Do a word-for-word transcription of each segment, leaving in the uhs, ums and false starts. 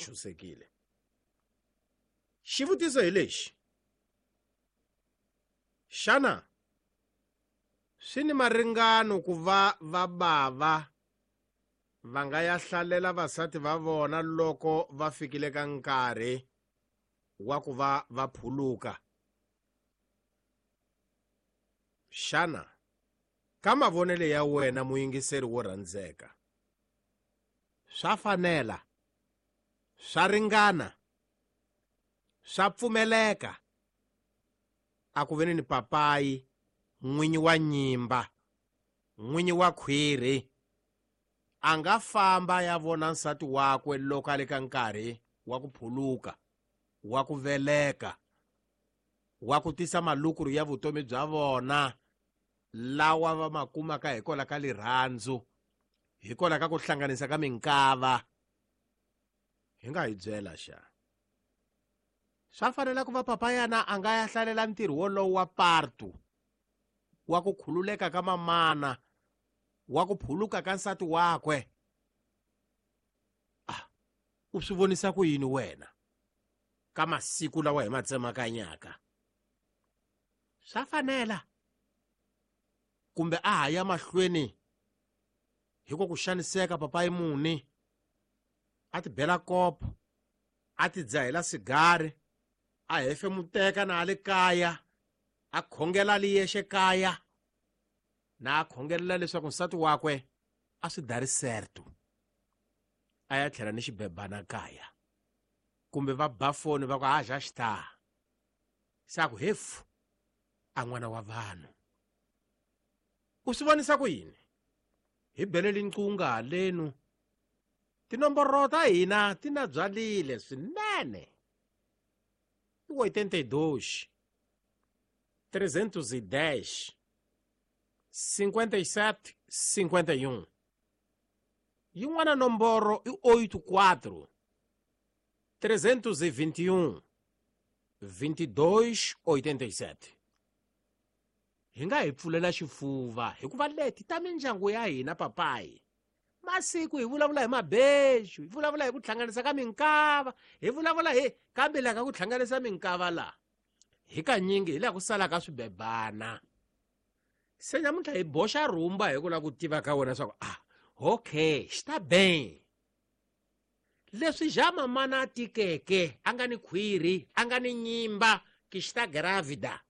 ntshunxekile. Xivutiso hi lexi: xana swi ni maringano ku va va bava va nga ya hlalela vasati va vona loko va fikile ka nkarhi wa ku va va phuluka? Xana ka mavonelo ya wena muyingiseri wo rhandzeka, swa fanela, swa ringana, swa pfumeleka a ku veni ni papayi n'winyi wa nyimba, n'winyi wa khwiri a nga famba ya vona nsati wakwe loko a le ka nkarhi wa ku phuluka, wa ku veleka, wa ku tisa malukuru ya vutomi bya vona lawa va ma kumaka hikwalaho ka rirhandzu, hikwalaho ka ku hlanganisa ka minkava? Hi nga hi byela xa swa fanela ku va papayana a nga ya hlalela ntirho wolowo wa partu, wa ku khululeka ka mamana, wa ku phuluka ka nsati wakwe? Ah, u swi vonisa ku yini wena ka masiku lawa hi ma tsemakanyaka? Swa fanela kumbe a ha ya mahlweni hi ku ku xaniseka papayi muni, a ti bela kopo, a ti dzahela sigari, a hefemuteka na a le kaya, a khongela li yexe kaya, na a khongelela leswaku nsati wakwe a swi dari certo, a ya tlhela ni xibebana kaya, kumbe va ba foni va ku a já está, se a ku hefu a n'wana wa vanhu. U swi vonisa ku yini? Hi beleli nqunga halenu, tinomboro ta hina ti na byalile swinene. I oitenta e dois, trezentos e dez, cinquenta e sete, cinquenta e um. Yin'wana nomboro i oito quatro, trezentos e vinte e um, vinte e dois, oitenta e sete. Hi nga hi pfulela xifuva hikuva leti ta mindyangu ya hina papayi. Masiku hi vulavula hi mabeju, hi vulavula hi ku hlanganisa ka minkava, hi vulavula hi kambe laha ka ku hlanganisa minkava la hi kanyingi hi laha ku salaka swibebana. Se namuntlha hi boxa rhumba hi ku lava ku tiva ka wena swa ku ah, okay, xi ta bem. Leswi ja mamana a tikeke, a nga ni khwiri, a nga ni nyimba, ki xi ta gravida.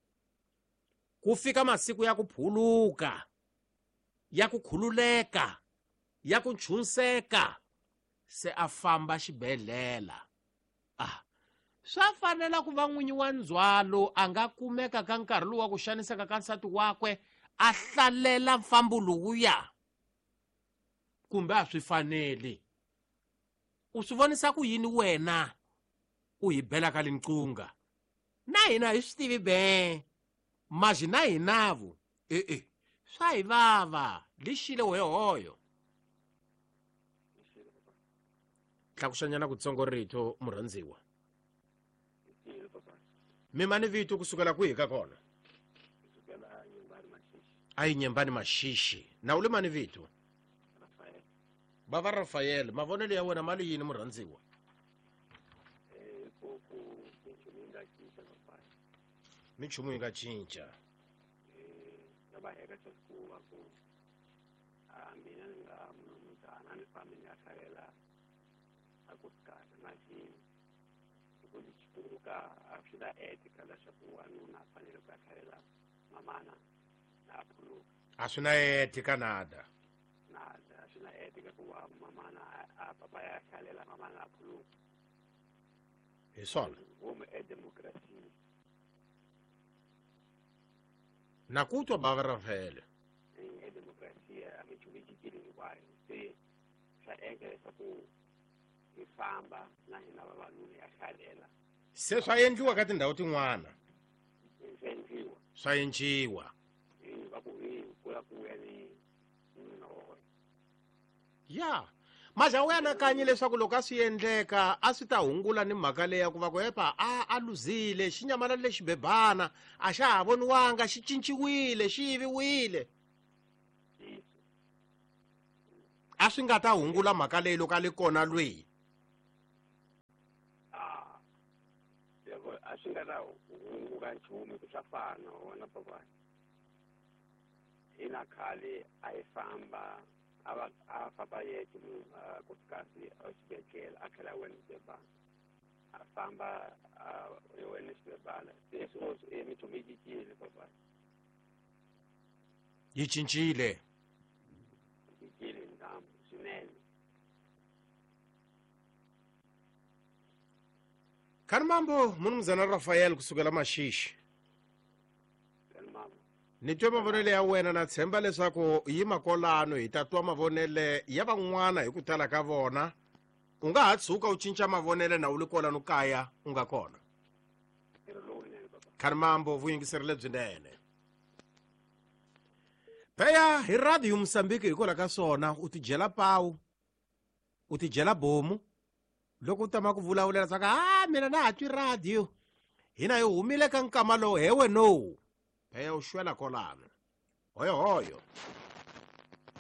Ku fika masiku ya ku phuluka, ya ku khululeka, ya ku nchunseka, se a famba xibedhlele. Ah, swa fanela ku va n'winyi wa ndzhwalo a nga kumeka ka nkarhi lowu wa ku xaniseka ka nsati wakwe, a hlalela mfambo lowuya, kumbe a swi faneli? U swi vonisa ku yini wena u hi bela ka linqunga? Na hina hi swi tivi be, maji na hinavu e-e swa hi vava lixile wehoyo. Tlakuxanyana kutsongo rito murhandziwa. Mi mani vito kusukela kwihi ka kona? A yi Nyembani Maxixi. Na u le mani vito? Bava Rafael, mavonelo ya wena mali yini murhandziwa? Minchumu yi nga cinca. A swi na etika nada. Nada, a swi na etika ku va mamana a papa ya hlalela mamana a phuluka. Hi swona. Home e democracy. Na ku twa bava Rafael. E democracy a mi chumu yi cincile hinkwayo. Se swa endla leswaku hi famba na hina vavanuna ya hlalela. Se swa endliwa ka tindhawu tin'wana. Swa endliwa. Swa endliwa. Va ku hi kula ku ya ni nuna wa wena. Ya. Maja u anakanye leswaku loko a swi endleka a swi ta hungula ni mhaka leyi ya ku va ku epa a a luzile xi nyamalale xibebana, a xa ha voniwanga, xi cinciwile, xi yiviwile. A swi nga ta hungula mhaka leyi loko a le kona lweyi. ta hunguka nchumu ku swa fana wona papa hina khale a hi famba a va a famba yexe munhu nkosikazi exibedhlele a tlhela a wena xibebana a famba a wena xibebana se sweswi e minchumu yi cincile papa yi cincile cincile ntambu swinene khani mambo munumzana Rafael kusukela Maxixi ni twe mavonele ya wena na tshemba leswaku yi makolano hi ta twa mavonele ya van'wana hi ku tala ka vona u nga ha tshuka u cinca mavonele na u li kolano kaya u nga kona khani mambo vuyingiseri lebyinene pheya hi radio Mozambique hikwalaho ka swona u tidyela pawu u tidyela bomu loko u tama ku vulavulela swa ka a mina na ha twi radio hina hi humile ka nkama lowu hewe no pheya u xwela kolano hoyo hoyo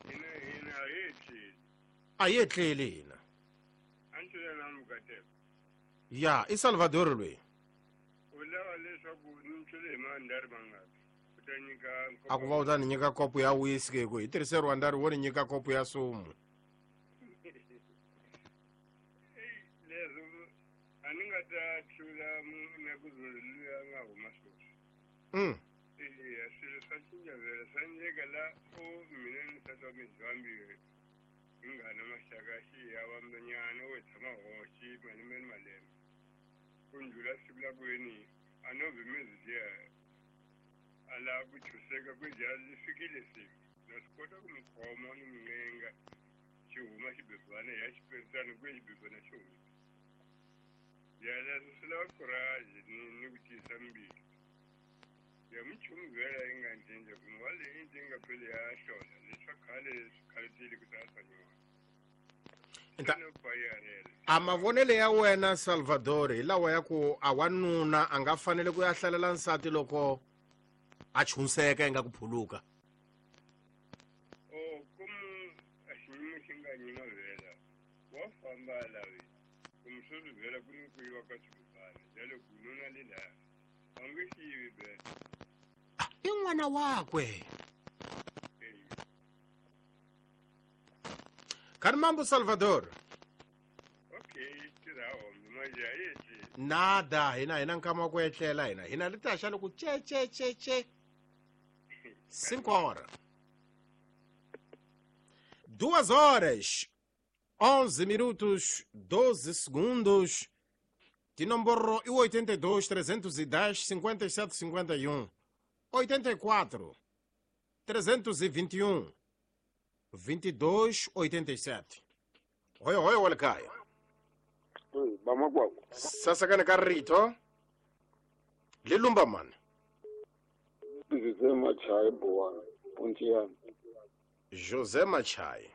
hina hina a hi etleli a hi etleli hina a ni twela na mukateko ya i Salvador loyi u lava leswaku ni tlule hi mandari mangaki u ta nyika a ku va u ta ni nyika kopo ya whisky hi ku hi tirhise rwandari wo ni nyika kopo ya sumu leswo a ni nga ta tlula na ku luya a nga huma sweswi mm eya swilo swa cinca vhela swa endleka la o mina ni nsati wa mina vambirhi hi nga na maxaka xi ya vambanyana wo tshama hoxi malembe ni malembe ku ndlula siku la ku yeni a no vhimezi liya a lava ku chuseka ku dya li fikile siku na swi kota ku mi khoma ni mi ncenga xi huma xibebana ya xiperisana ku ye xibebana xi huma ya leswo swi lava courage ni ni ku tiyisa mbilu ya minchumu vhela yi nga cinca kumbe wa leyi yi nga pheli ya hlola leswa khale swi khaletile ku sala swa nyuwana a mavonele ya wena Salvador hi lawa ya ku a wanuna a nga fanele ku ya hlalela nsati loko a chunseka yi nga ku phuluka o komu a xiyimo xi nga nyima vhela wa famba a lavi kumbe sweswi vhela ku ni ku yiva ka swibebana jalo ku nuna le laha a nge xi yivi vhela i n'wana wakwe khani mambo Salvador okay tirha hombe manje a yetli nada hina hina nkama wa ku etlela hina hina li ta xa loko che che che che cinco horas duas horas onze minutos doze segundos tinomboro i oitenta e dois trezentos e dez cinquenta e sete cinquenta e um oitenta e quatro trezentos e vinte e um vinte e dois oitenta e sete hoyo hoyo wa le kaya bamakwako sasakane ka rito le lumba mani José Machai Bowana Pontiana José Machai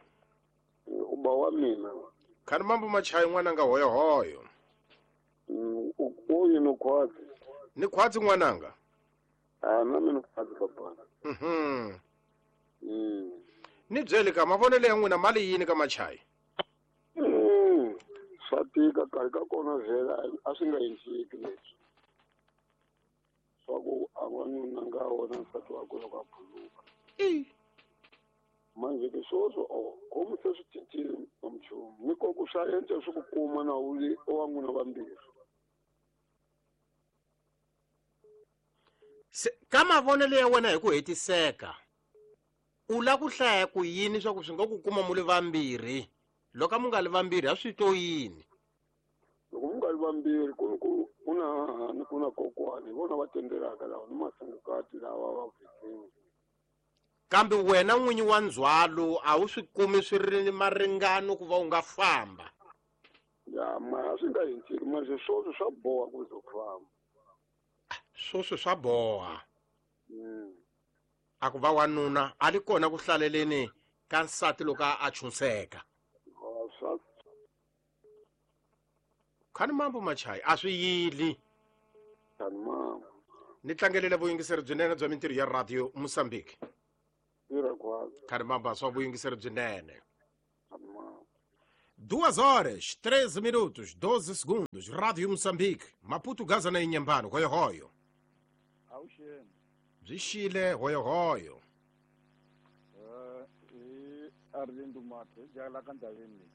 uba wa mina khani mambo Machai n'wananga hoyo hoyo uyu ni khwatsi ni khwatsi n'wananga a na mina khwatsi papa mhm mm ni byele ka mavonelo ya n'wina mali yini ka Machai swa tika karhi ka kona vhela a swi nga endleki leswi swa ku a wanuna nga wona nsati wakwe loko a phuluka manje ke swoswo o komu se swi cincile minchumu ni ko ku swa endla swi ku kuma na u li wa n'wina vambirhi ka mavonelo ya wena hi ku hetiseka u la ku hlaya ku yini swa ku swi nga ku kuma mu li vambirhi loko mu nga li vambirhi a swi to yini loko mu nga li vambirhi ku ku ku na hahani ku na kokwani hi vona va tendelaka lawa ni masungukati lawa va vhikini kambe wena n'winyi wa ndzhwalo a wu swi kumi swi ri ni maringano ku va u nga famba ya ma a swi nga endleki manje swoswo swa boha ku ze u famba swoswo swa boha mm. a ku va wanuna a li kona ku hlaleleni ka nsati loko a chunseka swa khani mambo Machai a swi yili khani mambo ni tlangelele vuyingiseri byinene bya mintirho ya radio Mozambique tirha khwatsi khani mambo swa vuyingiseri byinene khani mambo Duas horas, treze minutos, doze segundos. Rádio Moçambique, Maputo, Gaza na Inhambane, Royo Royo. Avuxeni. Byi xile Royo Royo. Eh, hi Arlindo Mathe, jala ka ndhaveni leyi.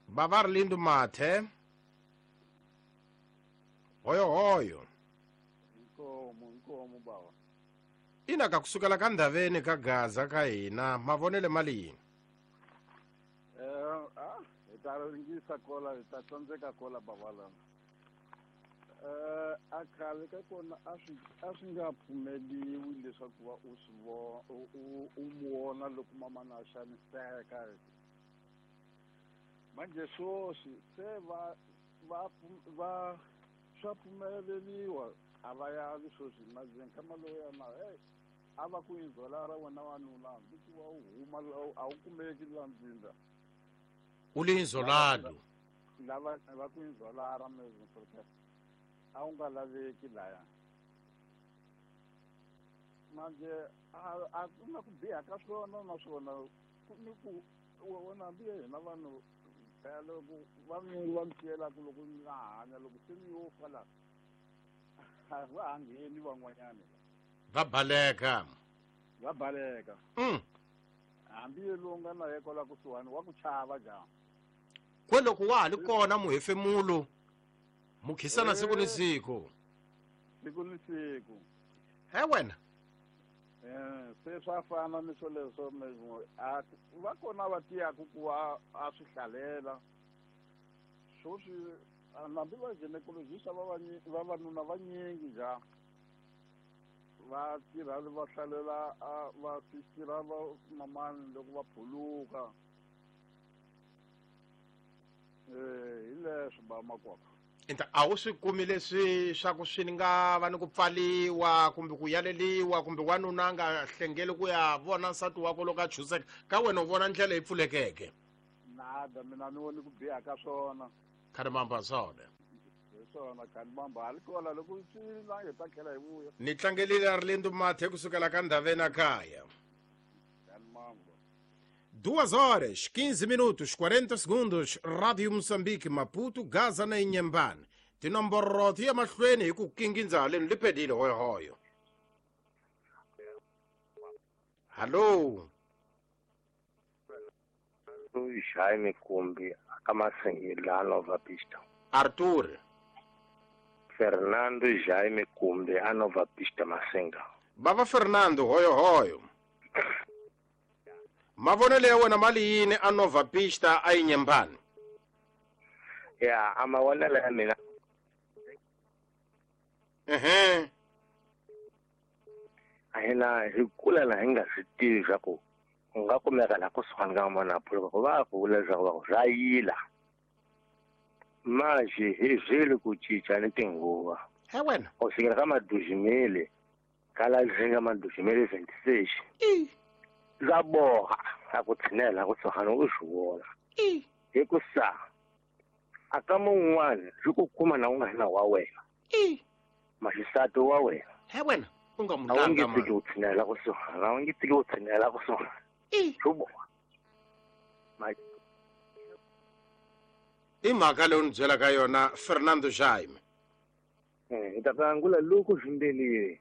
Baba Arlindo Mathe. Royo Royo. Inkomo, inkomo baba. Ina ka kusukela ka ndhaveni ka Gaza ka hina, mavonele mali yini? Eh, ah, hi ta ringisa kola, hi ta tsandzeka kola baba lana. Eh, a khale ka kona a swi a swi nga pfumeliwi leswaku va u swi vo u u mu vona loko mamana a xaniseka. Manje sweswi se va va va swa pfumeleriwa a va yavi sweswi manje nkama lowu na hey a va ku inzola ra wena wanuna hambi ku va u huma a wu kumeki la ndzinda. U le inzolado. Lava va ku inzola ra mezwi a wu nga laveki laya. Manje a a ku na ku biha ka swona naswona ku ni ku wena hambi hina vanhu phela loko va mi va mi siyelaka loko mi nga hanya loko se mi yo fa la a va ha ngheni van'wanyana va baleka va baleka. Mm. Hambi lowu nga na ye kwala kusuhani wa ku chava njhani kwe loko wa ha li kona muhefemulo mukhisana siku ni siku siku ni siku he wena eh se swa fana ni swoleswo a va kona va tiyaku ku va a swi hlalela sweswi hambi va gynecologist va vavanuna vanyingi njhani va tirha va hlalela va tirha va mamani loko va phuluka eh hi leswo ba makwapa. Enta a wu swi kumi leswi swa ku swi nga va ni ku pfaliwa kumbe ku yaleliwa kumbe wanuna a nga hlengeli ku ya vona nsati wakwe loko a chuseka ka wena u vona ndlela yi pfulekeke. Nada mina ni voni ku biha ka swona. Khani mamba swona. Hi swona khani mamba hali kola loko swi la hi ta tlhela hi vuya. Ni tlangelile Arlindo Mathe kusukela ka ndhaveni a kaya. Khani mamba. Duas horas, quinze minutos, quarenta segundos, Rádio Moçambique, Maputo, Gaza na Inhambane. Tinomboro ti ya mahlweni hi ku kingindza haleni lipedile hoyohoyo. Hallo. Jaime Kumbi, akamasengela Nova Pista. Arthur. Fernando Jaime Kumbi, a Nova Pista Masenga. Baba Fernando, hoyohoyo. Mavonelo ya wena mali yini a Nova Pista a Inhambane? Ya, a mavonelo ya mina. Ehe. A hina hi kula la hi nga swi tivi swa ku u nga kumeka la kusuhani ka n'wana phuluka ku va ku vula leswaku va ku swa yila. Manje hi zvile ku cinca ni tinguva. He wena. U fikela ka madujimele ka la zinga madujimele twenty-six. Za boha a ku tshinela kusuhani u swi vona. Hi ku sa a ka mun'wana swi ku kuma na u nga na wa wena. Maxisati wa wena. He wena u nga mu A wu nge langa tiki u tshinela kusuhani, a wu nge tiki u tshinela kusuhani. Swi boha. I mhaka leyi u ni byelaka yona Fernando Jaime. Eh, hi ta angula loko swimbelile.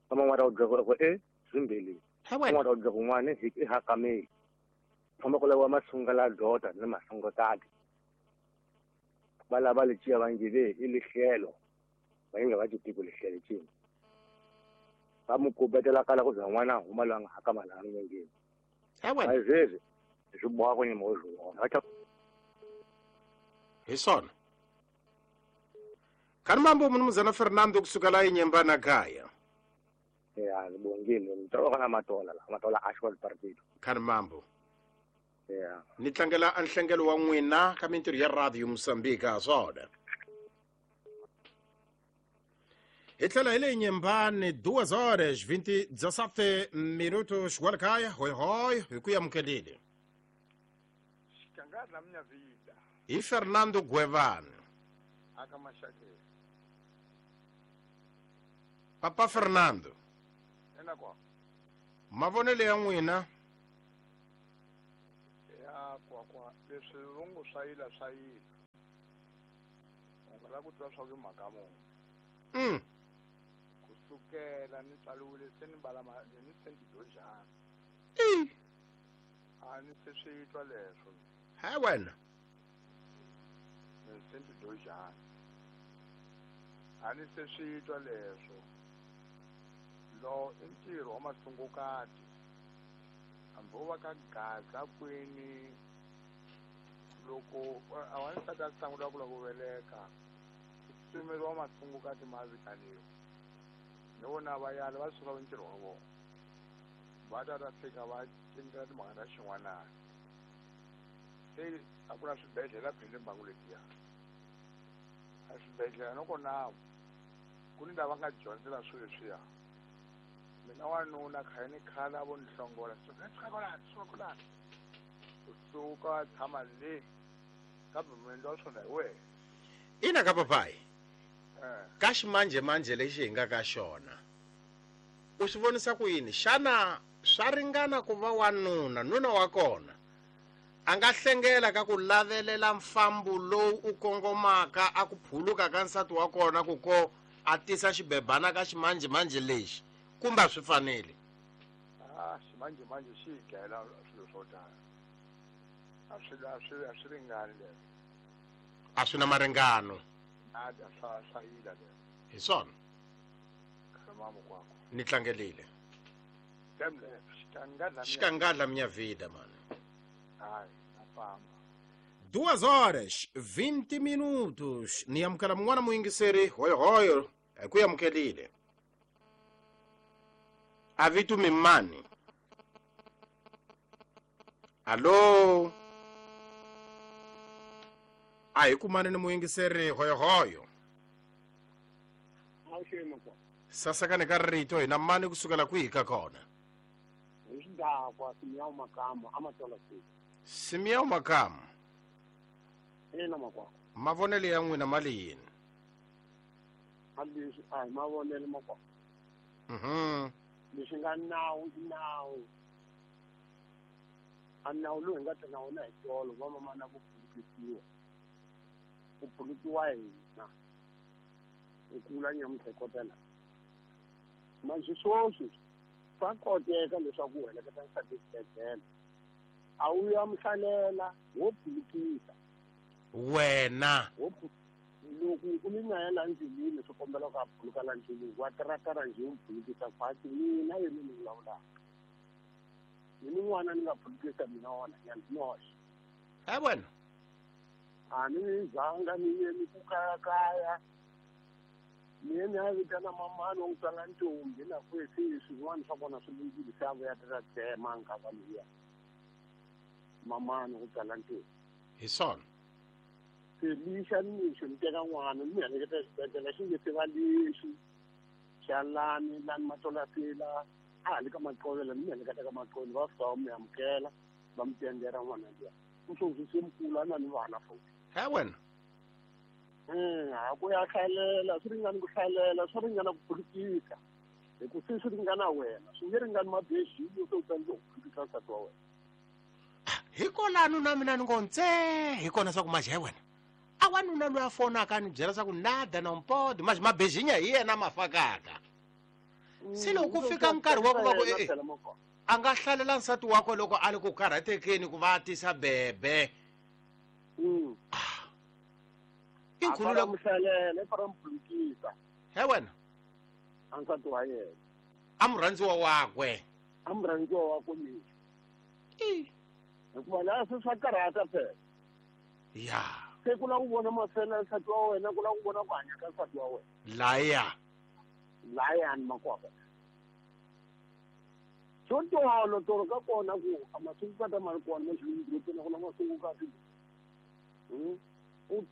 Van'wana va ta ku e swimbelile. He wena. Van'wana va ta ku n'wana i hakameli. Famba ku laviwa masunga la dota ni masungakati. Va lava leciya va nge ve i lihlelo. Va nge va ti tivi lihlelo cini. Va mu kubetela kala ku za n'wana a huma loyi a nga hakama laha milengeni. He wena. A sweswi swi boha ku nyima u swi vona. Va ta Hi swona. Khani mambo mnumzana Fernando kusukela Inhambane kaya. Ya, ni bongile. Ni toloka na matola la, matola Ashwell Partido. Khani mambo. Ya. Ni tlangela a nhlengelo wa n'wina ka mintirho ya Radio Moçambique swona. Hi tlhela hi le Inhambane duas horas vinte dezessete minutos kwala kaya hoy hoy hi ku amukelile. Xikangana minha vida. Hi Fernando Guevane. Aka Mashake. Papa Fernando. Ena kwa. Mavonelo ya n'wina. Ya A kwakwa leswi vo ngo swa yila swa yila. U nga lava ku twa swa ku i mhaka muni. Mm. Kusukela ni tswariwile se ni mbala ma ni se ni tidojana. I. A ni se swi twa leswo. He wena. Ni se ni tidojana. A ni se swi twa leswo. Lo i ntirho wa masungukati. Hambi wo va ka gaza kwini loko a wansati a sungula ku lava ku veleka ku tsutsumeriwa masungukati ma vitaniwa. Ni vona va yala va suka ntirho wa vona. Va ta ta fika va cinca timhaka ta xin'wanana. Se a ku na swibedhlele phela mbangu letiya. A swibedhlele loko na ku ni lava nga dyondzela swilo leswiya. Mina wanuna khale ni khale a vo ni hlongola suka suka kwalano suka kwalano. U suka tshama le kambe muendli wa swona hi wena. Ina ka papayi. Eh. Ka ximanjhemanjhe lexi hi nga ka xona u swi vonisa ku yini? Xana swa ringana ku va wanuna nuna wa kona a nga hlengela ka ku lavelela mfambo lowu u kongomaka a ku phuluka ka nsati wa kona ku ko a tisa xibebana ka ximanjhemanjhe lexi kumbe a swi fanele? Ah, ximanjhemanjhe xi hi dlayela swilo swo tala. A swi a swi a swi ringani leswo. A swi na maringano. Nada swa swa yila leswo. Hi swona. Khalama mukwako. Ni tlangelile. Demle xikangadla Xikangadla minha vida, mano. Hayi, na famba. Duas horas, vinte minutos. Ni amukela mun'wana muyingiseri hoyohoyo hi ku amukelile. A vito mi mani? Allo? A hi kumani ni muyingiseri hoyohoyo. Sasakani ka rito hina mani kusukela kwihi ka kona? Hi xidakwa Simiyawu Makamu a Matola City. Simiyawu Makamu. Ina makwakwa. Mavonelo ya n'wina ma le yini? A leswi a hi mavonelo makwakwa. Mhm. Leswi nga nawu i nawu. A nawu lowu hi nga ta na wona hi tolo va mamana ku phulukisiwa. Ku phulukiwa hina. Hi kula nyamuntlha hi kota laha. Manjhe sweswi swa koteka leswaku u heleketa nsati exibedhlele. A wu ya muhlalela wo phulukisa. Wena. Wo loko u ni na yena ndleleni swi kombela ku a phuluka la ndleleni wa tiratara njhe u phulukisa khwatsi mina yena ni vulavulaka. Ni n'wana ni nga phulukisa mina wona ya ndzi noxe. He wena. A ni zanga ni ye ni ku kayakaya. Ni ye ni ya vitana mamani wa n'wi tswala ntombi na ku se swin'wana swa kona swi lunghile se a vuya ta tsema nkava liya. Mamani ku tswala ntombi. Hi swona. Se lixa nimixo ni teka n'wana ni heleketa exibedhlele xi nge se va lexi xa lani lani Matolasela a ha le ka Maqovela ni heleketa ka Maqovela va fika va mi amukela va mi tendera n'wana luya. U sweswi se mukulu a na ni vana futhi. He wena. A ku ya hlalela swi ringani ku hlalela swi ringana ku phulukisa hi ku se swi ringana wena swi nge ringani mabejini se u tsandzeka ku phulukisa nsati wa wena. Hikwalano na mina ni ngo ntse hi kona swa ku manjhe he wena. A wanuna loyi a fonaka a ni byela swa ku nada na mpodi manjhe mabejinya hi yena ma fakaka. Se loko ku fika nkarhi wa ku va ku e a nga hlalela nsati wakwe loko a ri ku karhatekeni ku va a tisa bebe. Mm. I nkulu loko muhlalela i fara muphulukisa. He wena. A nsati wa yena. A murhandziwa wakwe. A murhandziwa wakwe mina. I. Hikuva laha se swa karhata phela. Ya. Se ku lava ku vona mafela nsati wa wena ku lava ku vona ku hanya ka nsati wa wena. Laya. Layani makwakwa. Xo tolo tolo ka kona ku a masungukati ma ri kona maxilungurupeni ku na masungukati. Mm.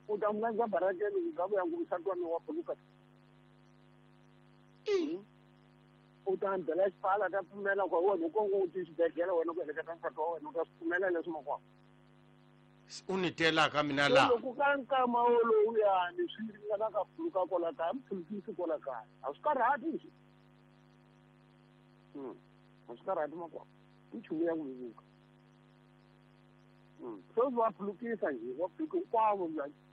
U ta mlandza barakeni ku nga vuya ku nsati wa mina wa phuluka. U ta byela xipfala ta pfumela ku wena u kongo u ti xibedhlele wena ku heleketa nsati wa wena u ta swi pfumela leswi makwakwa. U ni telaka mina laha. Loko ka nkama wolowuyani swi ringana ka phuluka kwala kaya mi phulukisi kwala kaya a swi karhati leswi. Mm. A swi karhati makwakwa. I nchumu ya ku vevuka. Sweswi va phulukisa njhe, va phuluka hinkwavo.